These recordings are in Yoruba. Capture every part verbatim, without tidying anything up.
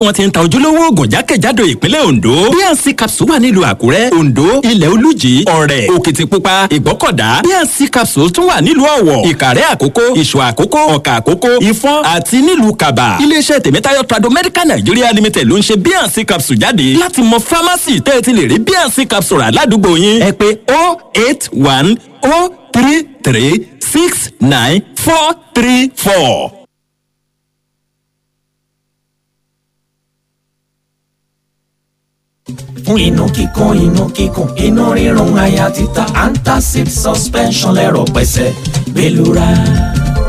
Wọ́n ti ń ta ojúlówó oògùn jákèjádò ìpínlẹ̀ Ondo. B and C capsule wà nílùú Àkúrẹ́, Ondo, Ilẹ̀ Olújì, Ọ̀rẹ́, Òkìtìpupa, Ìgbọ́kọ̀dá. B and C capsule tún wà nílùú Ọ̀wọ̀, Ìkàrẹ́ Àkókó, Ìṣọ̀ Àkókó, Ọ̀kà Àkókó, Ìfọ̀n àti nílùú Kàbà. Iléeṣẹ́ Tèmítáyọ̀ Trado Medical Nigeria Limited ló ń ṣe B and C capsule jáde. Láti mọ fámásì tẹ́ ẹ ti lè rí B and C capsule rà ládùúgbò yín, ẹ pè oh eight one oh three three six nine four three four. Fún inú kíkan, inú kíkùn, inú rírun, àyà títa, Antacid suspension lẹ́rọ̀ pẹ̀sẹ̀ gbẹlura.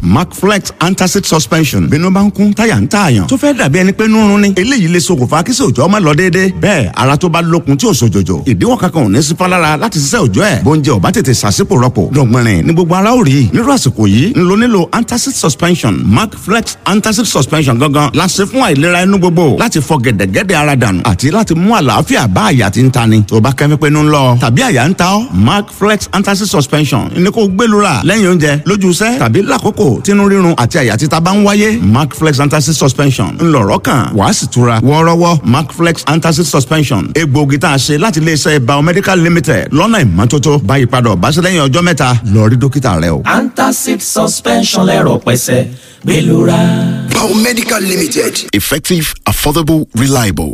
Macflex Antacid suspension. Bínú bá ń kún, táyà ń tààyàn tó fẹ́ dàbí ẹni pé nírun ni, eléyìí lè ṣokùnfà kí sòjọ́ ọmọ lọ déédéé. Bẹ́ẹ̀ ara tó bá lókun tí ò sòjòjò, ìdíwọ́ kankan ò ní sí fálára láti ṣiṣẹ́ òjọ́ ẹ̀. Bóúnjẹ ò bá tètè ṣàṣìpò rọpò dọ̀gbìnrin ní gbogbo ara ò rí. Nírú àsìkò yìí ń lo nílò antacid suspension. Macflex Antacid suspension gangan la ṣe fún àìlera inú gbogbo, láti fọ gẹ̀dẹ̀gẹ̀dẹ̀ ara dànù àti láti mú àlàáfíà bá àyà tí ń tani. Tó bá kẹ́mi pé ń lọ tàbí àyà ń ta ọ́, Macflex Antacid suspension ní kó gbẹlura lẹ́yìn oúnjẹ, lójú iṣẹ́ tàbí lákòókò tínú rírun àti àyà títa bá ń wáyé. Macflex Antacid suspension ńlọrọ kan, wàá sì tura wọ́ọ́rọ́wọ́. Macflex Antacid suspension, egbòogi tá a ṣe láti iléeṣẹ́ Biomedical Limited lọ́nà ìmọ́tótó. Báyìí padà ọ̀báṣẹ́ lẹ́yìn ọjọ́ mẹ́ta, lọ rí dókítà rẹ o. Antacid suspension lẹ́rọ̀ pẹ̀sẹ̀ gbẹlura. Biomedical Limited. Effective, affordable, reliable.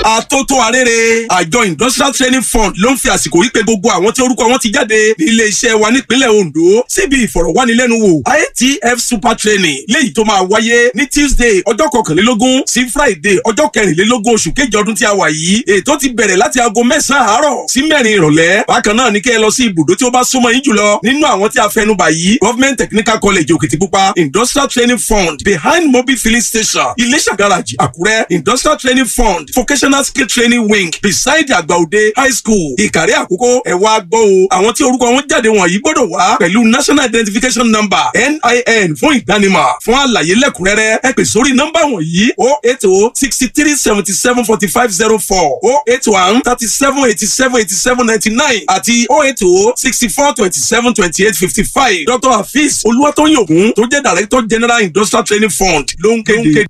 Àtótó arére, àjọ Industrial Training Fund ló ń fi àsìkò yìí pé gbogbo àwọn tí orúkọ wọn ti jáde ní ilé iṣẹ́ wa nípínlẹ̀ Ondo síbi ìfọ̀rọ̀wánilẹ́nuwò I T F Super Training, léyìí tó máa wáyé ní Tuesday, ọjọ́ kọkànlélógún sí Friday, ọjọ́ kẹrìnlélógún oṣù kejì ọdún tí a wà yìí. Ètò ti bẹ̀rẹ̀ láti aago mẹ́sàn-án àárọ̀ sí mẹ́rin ìrọ̀lẹ́. Bákan náà ní kẹ́ ẹ lọ sí ibùdó tí ó bá súnmọ́ yín jùlọ nínú àwọn tí a fẹnubà yìí: Government Technical College, Òkìtìpupa; Industrial Training Fund, behind Mobil Filling Station, Iléṣà Garage, Àkúrẹ́; Industrial Training Fund, Vocational Skill Training Wing, beside Àgbàòde High School, Ìkàrẹ́ Àkókó. Ẹ wá gbọ́ o, àwọn tí orúkọ wọn jáde wọ̀nyí gbọ́dọ̀ wá pẹ̀lú National Identification Number, N I N, fún ìdánimọ̀. Fún àlàyé lẹ́kùnrẹ́rẹ́, ẹ pè sórí nọ́mbà wọ̀nyí: oh eight oh sixty three seventy seven forty five zero four, oh eight one thirty seven eighty seven eighty seven ninety nine àti oh eight oh sixty four twenty seven twenty eight fifty five. Doctor Hafiz Olúwatóyìn Ògún tó jẹ́ Director General, Industrial Training Fund, ló ń kéde.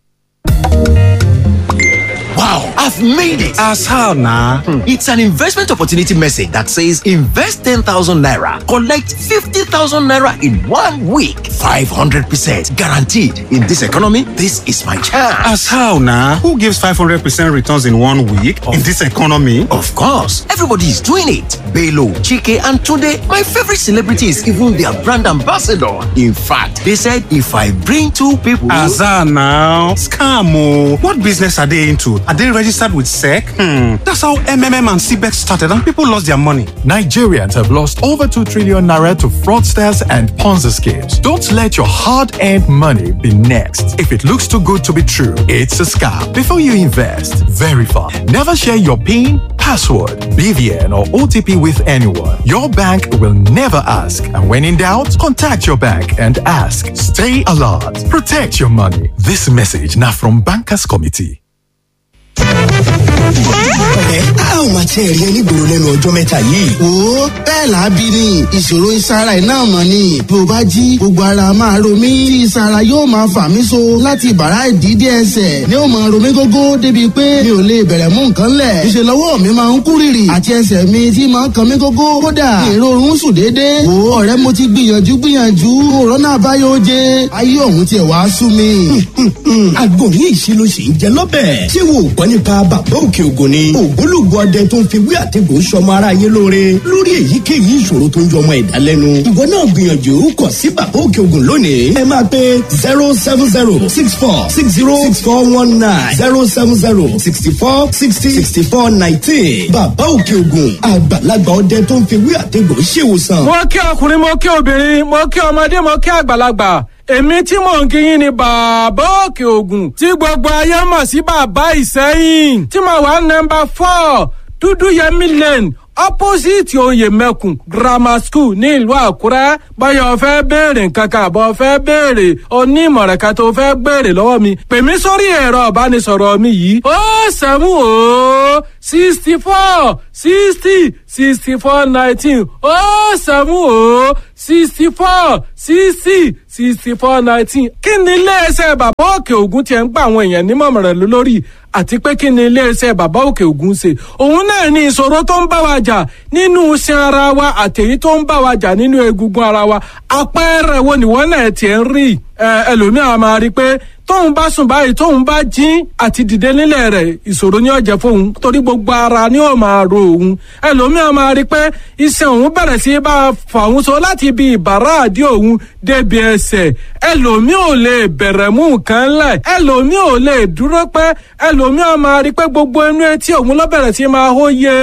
Wow, I've made it. As how now? Hmm. It's an investment opportunity message that says invest ten thousand naira, collect fifty thousand naira in one week. five hundred percent guaranteed. In this economy, this is my chance. As how now? Who gives five hundred percent returns in one week in this economy? Of course, everybody is doing it. Bello, Chike, and Tunde, my favorite celebrity, is even their brand ambassador. In fact, they said if I bring two people. Azar now. Scam. Oh. What business are they into? Are they registered with S E C? Hmm. That's how M M M and C B E X started and people lost their money. Nigerians have lost over two trillion naira to fraudsters and Ponzi schemes. Don't let your hard earned money be next. If it looks too good to be true, it's a scam. Before you invest, verify. Never share your PIN, password, B V N, or O T P with anyone. Your bank will never ask. And when in doubt, contact your bank and ask. Stay alert. Protect your money. This message now from Bankers Committee. Ọ̀rẹ́, a ò máa tiẹ̀ rí ẹ nígboro lẹ́nu ọjọ́ mẹ́ta yìí. Wo, bẹ́ẹ̀ làábí ni. Ìṣòro ìsara iná mọ̀ ni. Bí o bá jí, gbogbo ara máa ro mí tí ìsara yóò máa fà mí so láti ìbàrá ìdí dé ẹsẹ̀ ni ó máa ro mí gógó, débi pé mi ò lè bẹ̀rẹ̀ mú nǹkan lẹ̀. Ìṣe lọ́wọ́ mi máa ń kú rìrì àti ẹsẹ̀ mi tí máa ń kan mí gógó. Kódà ìrorun sùn déédéé. Wo ọ̀rẹ́, mo ti gbìyànjú gbìyànjú, òrọ́nà àbáyọ oje. Ayé òun tiẹ̀ wá sú mi. Àgbo ní ìṣirò sì ń jẹ lọ́bẹ̀. Ṣé wo ò gbọ́ nípa Bàbá Òkè Ògùn ni? Ògbólógbò ọdẹ tó ń fi wí àtẹ̀gùn sọmọ ara yé lóore lórí èyíkéyìí ìṣòro tó ń jọmọ ẹ̀dá lẹ́nu. Ìwọ náà gbìyànjú kàn sí Bàbá Òkè Ògùn lónìí. Ẹ máa pe zero seven zero six four six zero six four one nine, zero seven zero sixty four sixty sixty four nineteen. Bàbá Òkè Ògùn, àgbàlagbà ọdẹ tó ń fi wí àtẹ̀gùn ṣèwòsàn. Mo kí ọkùnrin, mo kí obìnrin, mo kí ọmọdé, mo kí àgbàlagbà. Èmi tí mò ń kíyìn ni Bàbá Òkè Ògùn, tí gbogbo ayé mọ̀ sí Bàbá Ìsẹ́yìn, tí mo wà nọ́mbà four, Dúdú Yẹmí Lane, Opposite oyè mẹ́kùn grammar school ní ìlú Àkúrẹ́. Báyọ̀ fẹ́ béèrè nǹkan kan àbọ̀ fẹ́ béèrè onímọ̀ràn kan tó fẹ́ béèrè lọ́wọ́ mi, pè mí sórí ẹ̀rọ ìbánisọ̀rọ̀ mi yìí: ó seven ó sixty four sixty sixty four nineteen, ó seven ó sixty four sixty sixty four nineteen. Kí ni iléeṣẹ́ Bàbá Òkè Ògùn tiẹ̀ ń gba àwọn èèyàn nímọ̀ràn lórí, àti pé kí ni iléeṣẹ́ Bàbá Òkè Ògùn ṣe? Òun náà ní ìṣòro tó ń bá wa jà nínú iṣan ara wa àtèyí tó ń bá wa jà nínú egungun ara wa. Àpẹẹrẹ wo ni wọ́n náà tiẹ̀ ń rí? Ẹlòmíràn máa rí i pé tóun bá sùn báyìí, tóun bá jí, àti dìde nílẹ̀ rẹ̀ ìṣòro ni ó jẹ́ fóun, torí gbogbo ara ni ó máa ro òun. Ẹlòmíràn máa rí i pé iṣan òun bẹ̀rẹ̀ sí bá a fà òun so láti ibi ìbàrá àdí òun débi ẹsẹ̀. Ẹlòmíì ò lè bẹ̀rẹ̀ mú nǹkan lẹ̀, ẹlòmíì ò lè dúró pẹ́. Ẹlòmíì máa rí i pé gbogbo inú etí òun ló bẹ̀rẹ̀ sí máa hó yé.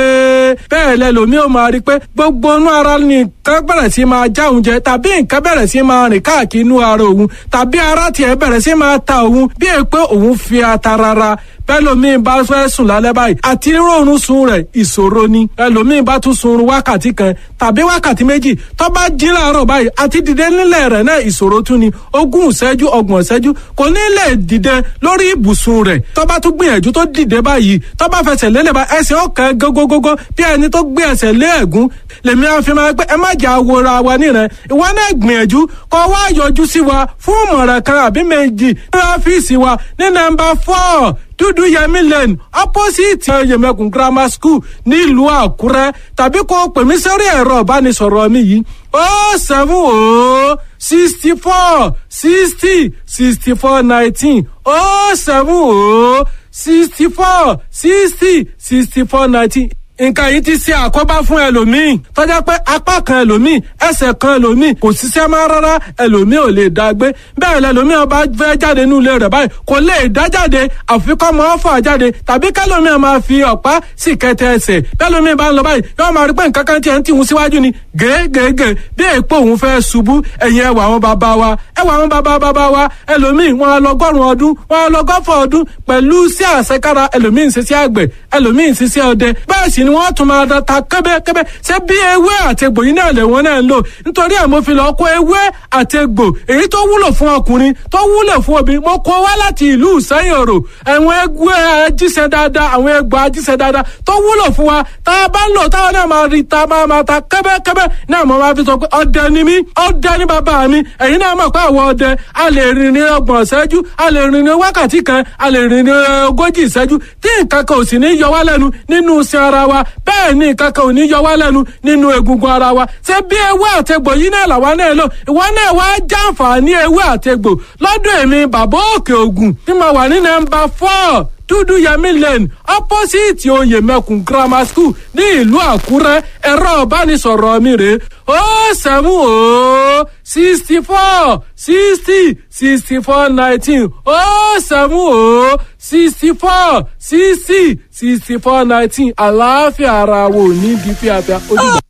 Bẹ́ẹ̀ lẹlòmíì ò máa rí i pé gbogbo inú ara nìkan bẹ̀rẹ̀ sí máa já òun jẹ, tàbí nǹkan bẹ̀rẹ̀ sí máa rìn káàkiri inú ara òun, tàbí ara tiẹ̀ bẹ̀rẹ̀ sí máa ta òun bí è pé òun fi ata rárá. Bẹ́lòmíì bá fẹ́ sùn lálẹ́ báyìí, àti rọrùn sun rẹ̀ ìṣòro ni. Ẹlòmíì bá tún sunrun wákàtí kan tàbí wákàtí méjì, tó bá jí láàárọ̀ báyìí, àti dìde nílẹ̀ rẹ̀ náà ìṣòro tún ni. Ogún ìṣẹ́jú, ọgbọ̀n ìṣẹ́jú, kò ní lè dìde lórí ibùsùn rẹ̀. Tó bá tún gbìyànjú tó dìde báyìí, tó bá fẹsẹ̀ lélẹ̀ bá, ẹsẹ̀ ọ̀kan gógógógó bí ẹni tó gbé ẹsẹ̀ lé ẹ̀gún. Lèmi àfi máa pé ẹ má jà wòra wa nìrẹ̀. Ìwọ náà gbìyànjú kó wá yọjú sí wa fún ìmọ̀ràn kan àbí méjì ní ọ́fíìsì wa ní nọ́mbà four, Dúdú Yẹmí Lane, opposite Yẹmẹkùn Grammar School nílùú Àkúrẹ́, tàbí kó pè mí sórí ẹ̀rọ ìbánisọ̀rọ̀ mi yìí: ó seven ó sixty four sixty sixty four nineteen, ó seven ó sixty four sixty sixty four nineteen. Nǹkan yìí ti ṣe àkóbá fún ẹlòmíì, tọ́jà pé apá kan ẹlòmíì, ẹsẹ̀ kan ẹlòmíì kò ṣiṣẹ́ mọ́ rárá. Ẹlòmíì ò lè dá gbé bẹ́ẹ̀. Lẹlòmíì ọba fẹ́ jáde nínú ilé rẹ̀ báyìí, kò lè dá jáde, àfi kọ́ mọ́ fà jáde, tàbí kẹlòmíì máa fi ọ̀pá sì kẹtẹ ẹsẹ̀. Bẹ́lòmíì bá ń lọ báyìí, yóò máa rí pé nǹkan kan tiẹ̀ ń tìhun síwájú ni gègègè, bí èèpo òun fẹ́ ṣubú. Ẹ̀yìn ẹwà àwọn bàbá wa, ẹwà àwọn bàbá bàbá wa, ẹlòmíì wọn lọgọ́rùn ọdún, wọn lọgọ́fọ̀ ọdún pẹ̀lú sí àṣekára. Ẹlòmíì ń ṣiṣẹ́ àgbẹ̀, ẹlòmíì ń ṣiṣẹ́ ọdẹ, bẹ́ẹ̀ sì ni wọ́n tún máa ta kẹ́bẹ́kẹ́bẹ́. Ṣé bí ewé àti egbò yìí náà lè wọ́n náà ń lò? Nítorí ẹ̀ mo fi lọ kó ewé àti egbò èyí tó wúlò fún ọkùnrin, tó wúlò fún obìnrin, mo kó wá láti ìlú Ìsẹ́yìn Òrò. Àwọn egbò ajíṣẹ́ dáadáa, àwọn egbò ajíṣẹ́ dáadáa tó wúlò fún wa, tá a bá ń lò táwọn náà máa rí ta máa máa ta kẹ́bẹ́kẹ́bẹ́ náà. Mo máa fi sọ pé ọdẹ ni mí, ọdẹ ni bàbá mi. Ẹ̀yin náà mọ̀ pé àwọn ọdẹ a lè rìn ní ọgbọ̀n ìṣẹ́jú, a lè rìn ní wákàtí kan, a lè rìn ní ogójì ìṣẹ́jú, tí nǹkan kan ò sì ní yọ wá lẹ́nu nínú iṣan ara wa. Bẹ́ẹ̀ ni nǹkan kan ò ní yọ wá lẹ́nu nínú egungun ara wa. Ṣé bí ewé àtegbò yìí náà làwa náà lò? Ìwọ náà wá jàǹfààní ewé àtegbò lọ́dọ̀ èmi Bàbá Òkè Ògùn tí mo wà ní nọ́mbà four, Dúdú Yẹmí Lane, opposite oyè mẹ́kùn grammar school ní ìlú Àkúrẹ́. Ẹ̀rọ ìbánisọ̀rọ̀ mi rèé: ó seven ó sixty four sixty sixty four nineteen, ó seven ó sixty four sixty sixty four nineteen. Àlàáfíà ara wo ní di fíafíà. Ó dìgbà.